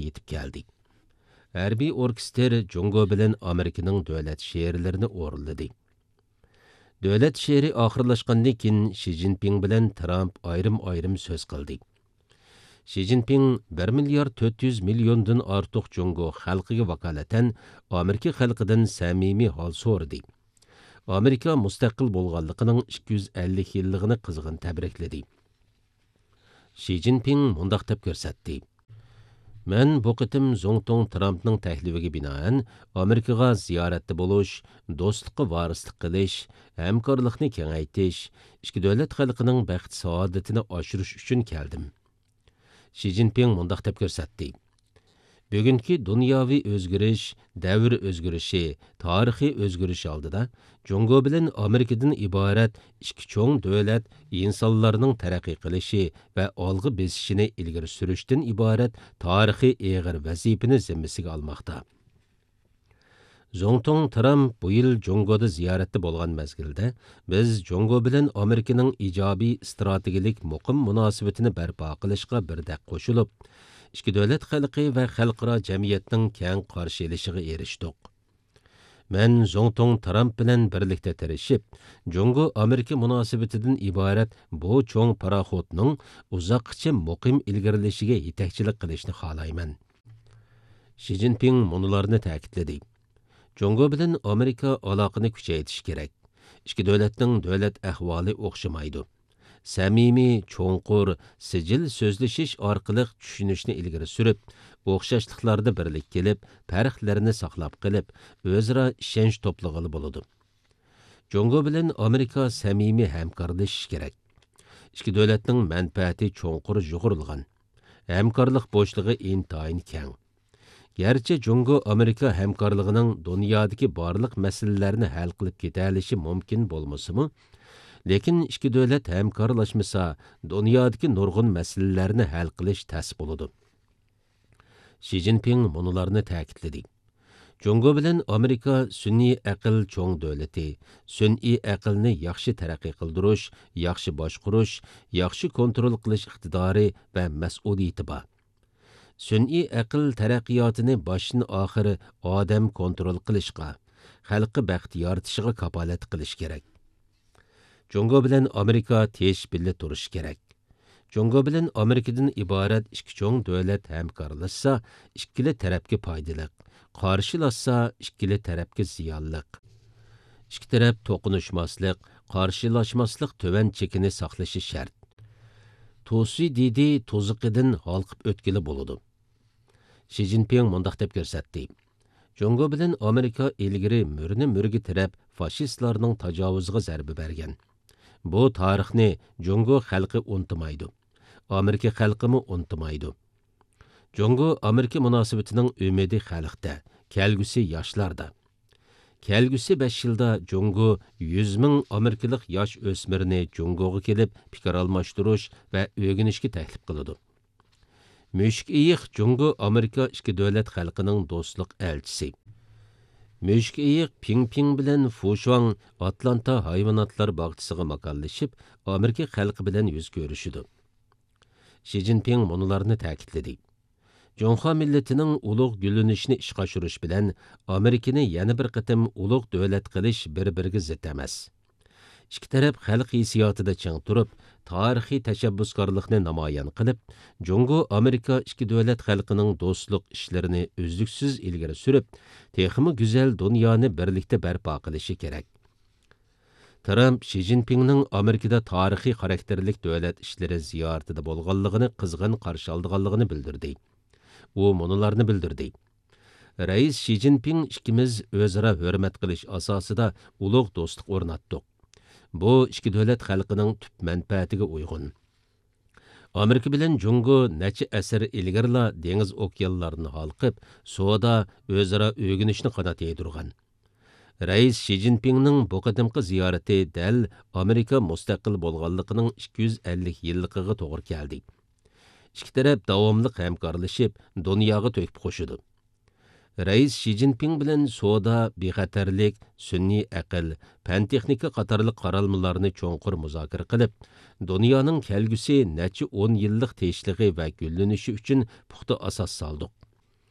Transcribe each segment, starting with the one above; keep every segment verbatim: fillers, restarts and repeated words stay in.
يېتىپ كەلدى. ھەربىي ئوركېستىر جۇڭگو بىلەن ئامېرىكىنىڭ دۆلەت شېئىرلىرىنى ئورۇنلىدى. دۆلەت شېئىرى ئاخىرلاشقاندىن كېيىن، شى جىنپىڭ بىلەن ترامپ ئايرىم-ئايرىم سۆز قىلدى. شى جىنپىڭ بىر مىليارد تۆت يۈز مىليوندىن ئارتۇق جۇڭگو خەلقىگە ۋاكالىتەن ئامېرىكا خەلقىدىن سەمىمىي ھال سورىدى. ئامېرىكا مۇستەقىل بولغانلىقىنىڭ ئىككى يۈز ئەللىك يىللىقىنى قىزغىن تەبرىكلىدى. شى جىنپىڭ مۇنداق دەپ كۆرسەتتى: مەن بۇ قېتىم زۇڭتۇڭ ترامپنىڭ تەكلىپىگە بىنائەن ئامېرىكىغا زىيارەتتە بولۇش، دوستلۇققا ۋارىسلىق قىلىش، ھەمكارلىقنى كېڭەيتىش، ئىككى دۆلەت خەلقىنىڭ بەخت-سائادىتىنى ئاشۇرۇش ئۈچۈن كەلدىم. شى جىنپىڭ مۇنداق دەپ كۆرسەتتى: بۈگۈنكى دۇنياۋى ئۆزگىرىش، دەۋر ئۆزگىرىشى، تارىخىي ئۆزگىرىش ئالدىدا جۇڭگو بىلەن ئامېرىكىدىن ئىبارەت ئىككى چوڭ دۆلەت ئىنسانلارنىڭ تەرەققىي قىلىشى ۋە ئالغا بېسىشىنى ئىلگىرى سۈرۈشتىن ئىبارەت تارىخىي ئېغىر ۋەزىپىنى زىممىسىگە ئالماقتا. زۇڭتۇڭ ترامپ بۇ يىل جۇڭگودا زىيارەتتە بولغان مەزگىلدە، بىز جۇڭگو بىلەن ئامېرىكىنىڭ ئىجابىي ئىستراتېگىيەلىك مۇقىم مۇناسىۋىتىنى بەرپا قىلىشقا بىردەك قوشۇلۇپ، ئىككى دۆلەت خەلقى ۋە خەلقئارا جەمئىيەتنىڭ كەڭ قارشى ئېلىشىغا ئېرىشتۇق. مەن زۇڭتۇڭ ترامپ بىلەن بىرلىكتە تىرىشىپ، جۇڭگو ئامېرىكا مۇناسىۋىتىدىن ئىبارەت بۇ چوڭ پاراخوتنىڭ ئۇزاققىچە مۇقىم ئىلگىرىلىشىگە يېتەكچىلىك قىلىشنى خالايمەن. شى جىنپىڭ مۇنۇلارنى تەكىتلىدى: جۇڭگو بىلەن ئامېرىكا ئالاقىنى كۈچەيتىشى كېرەك. ئىككى دۆلەتنىڭ دۆلەت ئەھۋالى ئوخشىمايدۇ. سەمىمىي، چوڭقۇر، سىجىل سۆزلىشىش ئارقىلىق چۈشىنىشنى ئىلگىرى سۈرۈپ، ئوخشاشلىقلاردا بىرلىككە كېلىپ، پەرقلەرنى ساقلاپ قېلىپ، ئۆزئارا ئىشەنچ توپلىغىلى بولىدۇ. جۇڭگو بىلەن ئامېرىكا سەمىمىي ھەمكارلىشىشى كېرەك. ئىككى دۆلەتنىڭ مەنپەئەتى چوڭقۇر يۇغۇرۇلغان. ھەمكارلىق بوشلۇقى ئىنتايىن كەڭ. گەرچە جۇڭگو ئامېرىكا ھەمكارلىقىنىڭ دۇنيادىكى بارلىق مەسىلىلەرنى ھەل قىلىپ كېتەلىشى مۇمكىن بولمىسىمۇ، لېكىن ئىككى دۆلەت ھەمكارلاشمىسا، دۇنيادىكى نۇرغۇن مەسىلىلەرنى ھەل قىلىش تەس بولىدۇ. شى جىنپىڭ مۇنۇلارنى تەكىتلىدى: جۇڭگو بىلەن ئامېرىكا سۈنئىي ئەقىل چوڭ دۆلىتى، سۈنئىي ئەقىلنى ياخشى تەرەققىي قىلدۇرۇش، ياخشى باشقۇرۇش، ياخشى كونترول قىلىش ئىقتىدارى ۋە مەسئۇلىيىتى بار. سۈنئىي ئەقىل تەرەققىياتىنى باشتىن ئاخىر ئادەم كونترول قىلىشقا، خەلققە بەخت يارىتىشىغا كاپالەتلىك قىلىش كېرەك. جۇڭگو بىلەن ئامېرىكا تىنچ بىللە تۇرۇشى كېرەك. جۇڭگو بىلەن ئامېرىكىدىن ئىبارەت ئىككى چوڭ دۆلەت ھەمكارلاشسا، ئىككىلا تەرەپكە پايدىلىق، قارشىلاشسا، ئىككىلا تەرەپكە زىيانلىق. ئىككى تەرەپ توقۇنۇشماسلىق، قارشىلاشماسلىق تۆۋەن چېكىنى ساقلىشى شەرت. توسۇيدىدى توزۇقىدىن ھالقىپ ئۆتكىلى بولىدۇ. شى جىنپىڭ مۇنداق دەپ كۆرسەتتى: جۇڭگو بىلەن ئامېرىكا ئىلگىرى مۈرىنى مۈرىگە تىرەپ، فاشىستلارنىڭ تاجاۋۇزىغا زەربە بەرگەن. بۇ تارىخنى جۇڭگو خەلقى ئۇنتۇمايدۇ. ئامېرىكا خەلقىمۇ ئۇنتۇمايدۇ. جۇڭگو ئامېرىكا مۇناسىۋىتىنىڭ ئۈمىدى خەلقتە، كەلگۈسى ياشلاردا. كەلگۈسى بەش يىلدا جۇڭگو يۈز مىڭ ئامېرىكىلىق ياش ئۆسمۈرنى جۇڭگوغا كېلىپ پىكىر ئالماشتۇرۇش ۋە ئۆگىنىشكە تەكلىپ قىلىدۇ. مۈشۈك ئېيىق جۇڭگو ئامېرىكا ئىككى دۆلەت خەلقىنىڭ دوستلۇق ئەلچىسى. مۈشۈك ئېيىق پىڭ پىڭ بىلەن فۇشۇاڭ ئاتلانتا ھايۋاناتلار باغچىسىغا ماكانلىشىپ، ئامېرىكا خەلقى بىلەن يۈز كۆرۈشىدۇ. شى جىنپىڭ مۇنۇلارنى تەكىتلىدى: جۇڭخۇا مىللىتىنىڭ ئۇلۇغ گۈللىنىشىنى ئىشقا ئاشۇرۇش بىلەن ئامېرىكىنى يەنە بىر قېتىم ئۇلۇغ دۆلەت قىلىش بىر-بىرىگە زىت ئەمەس. ئىككى تەرەپ خەلق ھېسسىياتىدا چىڭ تۇرۇپ، تارىخىي تەشەببۇسكارلىقنى نامايان قىلىپ، جۇڭگو ئامېرىكا ئىككى دۆلەت خەلقىنىڭ دوستلۇق ئىشلىرىنى ئۈزلۈكسىز ئىلگىرى سۈرۈپ، تېخىمۇ گۈزەل دۇنيانى بىرلىكتە بەرپا قىلىشى كېرەك. ترامپ شى جىنپىڭنىڭ ئامېرىكىدا تارىخىي خاراكتېرلىك دۆلەت ئىشلىرى زىيارىتىدە بولغانلىقىنى قىزغىن قارشى ئالىدىغانلىقىنى بىلدۈردى. ئۇ مۇنۇلارنى بىلدۈردى: رەئىس شى جىنپىڭ ئىككىمىز ئۆزئارا ھۆرمەت قىلىش ئاساسىدا ئۇلۇغ دوستلۇق ئورناتتۇق. بۇ ئىككى دۆلەت خەلقىنىڭ تۈپ مەنپەئەتىگە ئۇيغۇن. ئامېرىكا بىلەن جۇڭگو نەچچە ئەسىر ئىلگىرىلا دېڭىز ئوكيانلارنى ھالقىپ، سودا، ئۆزئارا ئۆگىنىشنى قانات يايدۇرغان. رەئىس شى جىنپىڭنىڭ بۇ قېتىمقى زىيارىتى دەل ئامېرىكا مۇستەقىل بولغانلىقىنىڭ ئىككى يۈز ئەللىك يىللىقىغا توغرا كەلدى. ئىككى تەرەپ داۋاملىق ھەمكارلىشىپ، دۇنياغا تۆھپە قوشىدۇ. رەئىس شى جىنپىڭ بىلەن سودا، بىخەتەرلىك، سۈنئىي ئەقىل، پەن-تېخنىكا قاتارلىق قارالمىلارنى چوڭقۇر مۇزاكىرە قىلىپ، دۇنيانىڭ كەلگۈسى نەچچە ئون يىللىق تىنچلىقى ۋە گۈللىنىشى ئۈچۈن پۇختا ئاساس سالدۇق.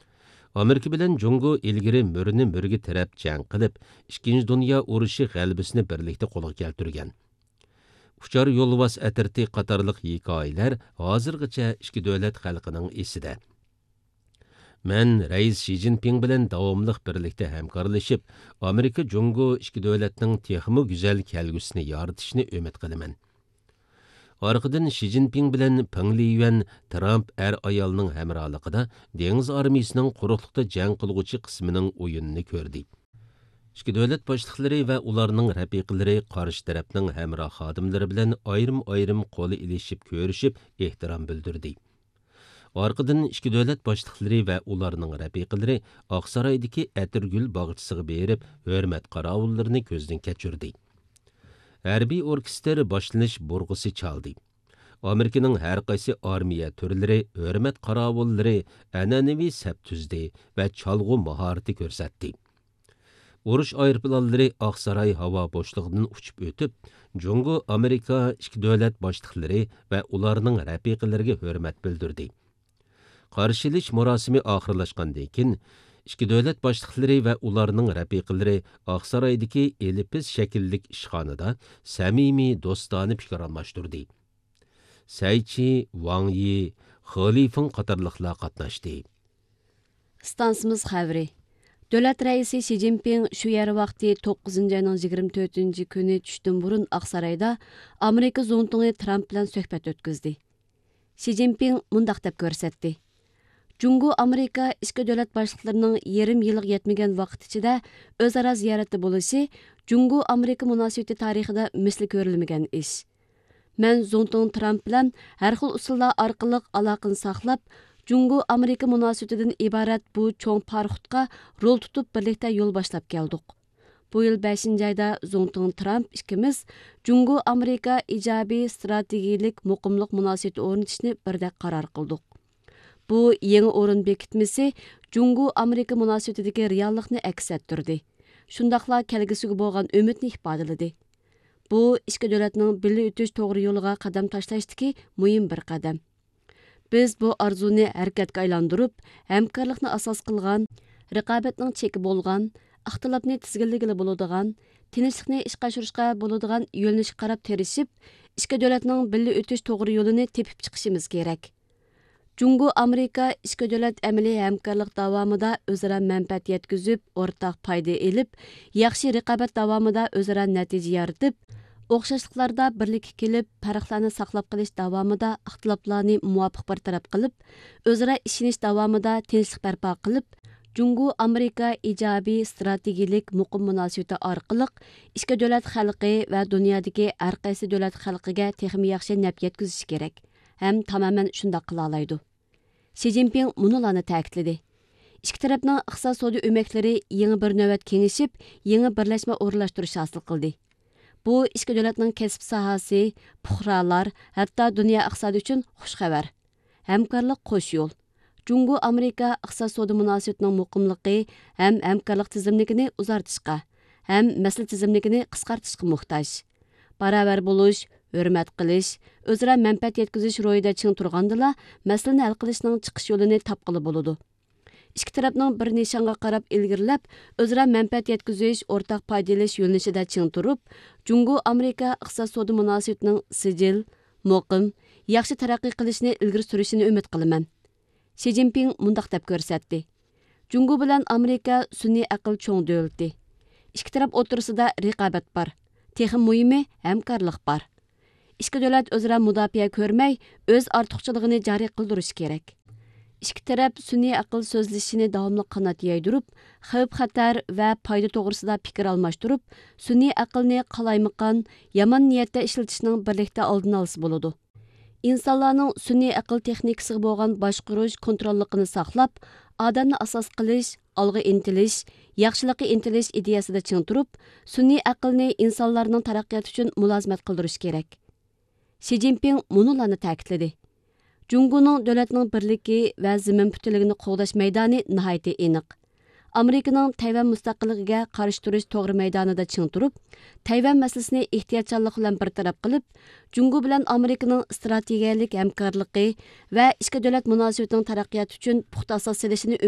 ئامېرىكا بىلەن جۇڭگو ئىلگىرى مۈرىنى مۈرىگە تىرەپ جەڭ قىلىپ، ئىككىنچى دۇنيا ئۇرۇشى غەلىبىسىنى بىرلىكتە قولغا كەلتۈرگەن. ئۇچار يولۋاس ئەترىتى قاتارلىق ھېكايىلەر ھازىرغىچە ئىككى دۆلەت خەلقىنىڭ ئېسىدە. مەن رەئىس شى جىنپىڭ بىلەن داۋاملىق بىرلىكتە ھەمكارلىشىپ، ئامېرىكا جۇڭگو ئىككى دۆلەتنىڭ تېخىمۇ گۈزەل كەلگۈسىنى يارىتىشىنى ئۈمىد قىلىمەن. ئارقىدىن شى جىنپىڭ بىلەن پېڭ لىيۈەن ترامپ ئەر-ئايالنىڭ ھەمراھلىقىدا دېڭىز ئارمىيىسىنىڭ قۇرۇقلۇقتا جەڭ قىلغۇچى قىسمىنىڭ ئويۇنىنى كۆردى. ئىككى دۆلەت باشلىقلىرى ۋە ئۇلارنىڭ رەپىقىلىرى قارشى تەرەپنىڭ ھەمراھ خادىملىرى بىلەن ئايرىم-ئايرىم قول ئېلىشىپ كۆرۈشۈپ، ئېھتىرام بىلدۈردى. ئارقىدىن ئىككى دۆلەت باشلىقلىرى ۋە ئۇلارنىڭ رەپىقىلىرى ئاقسارايدىكى ئەتىرگۈل باغچىسىغا بېرىپ، ھۆرمەت قاراۋۇللىرىنى كۆزدىن كەچۈردى. ھەربىي ئوركېستىر باشلىنىش بۇرغىسى چالدى. ئامېرىكىنىڭ ھەر قايسى ئارمىيە تۈرلىرى، ھۆرمەت قاراۋۇللىرى ئەنئەنىۋى سەپ تۈزدى ۋە چالغۇ ماھارىتى كۆرسەتتى. ئۇرۇش ئايروپىلانلىرى ئاقساراي ھاۋا بوشلۇقىدىن ئۇچۇپ ئۆتۈپ، جۇڭگو ئامېرىكا ئىككى دۆلەت باشلىقلىرى ۋە ئۇلارنىڭ رەپىقىلىرىگە ھۆرمەت بىلدۈردى. قارشى ئېلىش مۇراسىمى ئاخىرلاشقاندىن كېيىن، ئىككى دۆلەت باشلىقلىرى ۋە ئۇلارنىڭ رەپىقىلىرى ئاقسارايدىكى ئېلىپىز شەكىللىك ئىشخانىدا سەمىمىي، دوستانە پىكىر ئالماشتۇردى. سەي چى، ۋاڭ يى، خې لىفېڭ قاتارلىقلار قاتناشتى. ئىستانسىمىز خەۋىرى. دۆلەت رەئىسى شى جىنپىڭ شۇ يەر ۋاقتى توققۇزىنچى ئاينىڭ يىگىرمە تۆتىنچى كۈنى چۈشتىن بۇرۇن ئاقسارايدا ئامېرىكا زۇڭتۇڭى ترامپ بىلەن سۆھبەت ئۆتكۈزدى. شى جىنپىڭ مۇنداق دەپ كۆرسەتتى: جۇڭگو ئامېرىكا ئىككى دۆلەت باشلىقلىرىنىڭ يېرىم يىلغا يەتمىگەن ۋاقىت ئىچىدە ئۆزئارا زىيارەتتە بولۇشى جۇڭگو ئامېرىكا مۇناسىۋىتى تارىخىدا مىسلى كۆرۈلمىگەن ئىش. مەن زۇڭتۇڭ ترامپ بىلەن ھەر خىل ئۇسۇللار ئارقىلىق ئالاقىنى ساقلاپ، جۇڭگو ئامېرىكا مۇناسىۋىتىدىن ئىبارەت بۇ چوڭ پاراخوتقا رول تۇتۇپ بىرلىكتە يول باشلاپ كەلدۇق. بۇ يىل بەشىنچى ئايدا زۇڭتۇڭ ترامپ ئىككىمىز جۇڭگو ئامېرىكا ئىجابىي ستراتېگىيىلىك مۇقىملىق مۇناسىۋىتى ئورنىتىشنى بىردەك قارار قىلدۇق. بۇ يېڭى ئورۇن بېكىتمىسى جۇڭگو ئامېرىكا مۇناسىۋىتىدىكى رېئاللىقنى ئەكس ئەتتۈردى. شۇنداقلا كەلگۈسىگە بولغان ئۈمىدنى ئىپادىلىدى. بۇ ئىككى دۆلەتنىڭ بىللە ئۆتۈش توغرا يولىغا قەدەم تاشلاشتىكى مۇھىم بىر قەدەم. بىز بۇ ئارزۇنى ھەرىكەتكە ئايلاندۇرۇپ، ھەمكارلىقنى ئاساس قىلغان، رىقابەتنىڭ چېكى بولغان، ئىختىلاپنى تىزگىنلىگىلى بولىدىغان، تىنچلىقنى ئىشقا ئاشۇرۇشقا بولىدىغان يۆنىلىشكە قاراپ تىرىشىپ، ئىككى دۆلەتنىڭ بىللە ئۆتۈش توغرا يولىنى تېپىپ چىقىشىمىز كېرەك. جۇڭگو ئامېرىكا ئىككى دۆلەت ئەمەلىي ھەمكارلىق داۋامىدا ئۆزئارا مەنپەئەت يەتكۈزۈپ، ئورتاق پايدا ئېلىپ، ياخشى رىقابەت داۋامىدا ئۆزئارا نەتىجە يارىتىپ، ئوخشاشلىقلاردا بىرلىككە كېلىپ، پەرقلەرنى ساقلاپ قېلىش داۋامىدا ئىختىلاپلارنى مۇۋاپىق بىر تەرەپ قىلىپ، ئۆزئارا ئىشىنىش داۋامىدا تىنچلىق بەرپا قىلىپ، جۇڭگو ئامېرىكا ئىجابىي ستراتېگىيىلىك مۇقىم مۇناسىۋىتى ئارقىلىق ئىككى دۆلەت خەلقى ۋە دۇنيادىكى ھەر قايسى دۆلەت خەلقىگە تېخىمۇ ياخشى نەپ يەتكۈزۈشى كېرەك ھەم تامامەن شۇنداق قىلالايدۇ. شى جىنپىڭ مۇنۇلارنى تەكىتلىدى: ئىككى تەرەپنىڭ ئىقتىساد سودا ئۆمەكلىرى يېڭى بىر نۆۋەت كېڭىشىپ، يېڭى بىرلەشمە ئورۇنلاشتۇرۇش ھاسىل قىلدى. بۇ ئىككى دۆلەتنىڭ كەسىپ ساھەسى، پۇقرالار، ھەتتا دۇنيا ئىقتىسادى ئۈچۈن خۇش خەۋەر. ھەمكارلىق قوش يول. جۇڭگو ئامېرىكا ئىقتىساد سودا مۇناسىۋىتىنىڭ مۇقىملىقى ھەم ھەمكارلىق تىزىملىكىنى ئۇزارتىشقا ھەم مەسىلە تىزىملىكىنى قىسقارتىشقا موھتاج. باراۋەر بولۇش، ھۆرمەت قىلىش، ئۆزئارا مەنپەئەت يەتكۈزۈش روھىدا چىڭ تۇرغاندىلا، مەسىلىنى ھەل قىلىشنىڭ چىقىش يولىنى تاپقىلى بولىدۇ. ئىككى تەرەپنىڭ بىر نىشانغا قاراپ ئىلگىرىلەپ، ئۆزئارا مەنپەئەت يەتكۈزۈش، ئورتاق پايدا ئېلىش يۆنىلىشىدە چىڭ تۇرۇپ، جۇڭگو ئامېرىكا ئىقتىساد سودا مۇناسىۋىتىنىڭ سىجىل، مۇقىم، ياخشى تەرەققىي قىلىشىنى ئىلگىرى سۈرۈشىنى ئۈمىد قىلىمەن. شى جىنپىڭ مۇنداق دەپ كۆرسەتتى: جۇڭگو بىلەن ئامېرىكا سۈنئىي ئەقىل چوڭ دۆلىتى. ئىككى تەرەپ ئوتتۇرىسىدا رىقابەت بار. تېخىمۇ مۇھىمى، ھەمكارلىق بار. ئىككى دۆلەت ئۆزئارا مۇداپىئە كۆرمەي، ئۆز ئارتۇقچىلىقىنى جارى قىلدۇرۇشى كېرەك. ئىككى تەرەپ سۈنئىي ئەقىل سۆزلىشىشىنى داۋاملىق قانات يايدۇرۇپ، خەۋپ-خەتەر ۋە پايدا توغرىسىدا پىكىر ئالماشتۇرۇپ، سۈنئىي ئەقىلنى قالايمىقان، يامان نىيەتتە ئىشلىتىشنىڭ بىرلىكتە ئالدىنى ئالسا بولىدۇ. ئىنسانلارنىڭ سۈنئىي ئەقىل تېخنىكىسىغا بولغان باشقۇرۇش، كونتروللۇقىنى ساقلاپ، ئادەمنى ئاساس قىلىش، ئالغا ئىنتىلىش، ياخشىلىققا ئىنتىلىش ئىدىيەسىدە چىڭ تۇرۇپ، سۈنئىي ئەقىلنى ئىنسانلارنىڭ تەرەققىياتى ئۈچۈن مۇلازىمەت قىلدۇرۇش كېرەك. شى جىنپىڭ مۇنۇلارنى تەكىتلىدى: جۇڭگونىڭ دۆلەتنىڭ بىرلىكى ۋە زېمىن پۈتۈنلۈكىنى قوغداش مەيدانى ناھايىتى ئېنىق. ئامېرىكىنىڭ تەيۋەن مۇستەقىللىقىگە قارشى تۇرۇش توغرا مەيدانىدا چىڭ تۇرۇپ، تەيۋەن مەسىلىسىنى ئېھتىياتچانلىق بىلەن بىر تەرەپ قىلىپ، جۇڭگو بىلەن ئامېرىكىنىڭ ئىستراتېگىيەلىك ھەمكارلىقى ۋە ئىككى دۆلەت مۇناسىۋىتىنىڭ تەرەققىياتى ئۈچۈن پۇختا ئاساس سېلىشىنى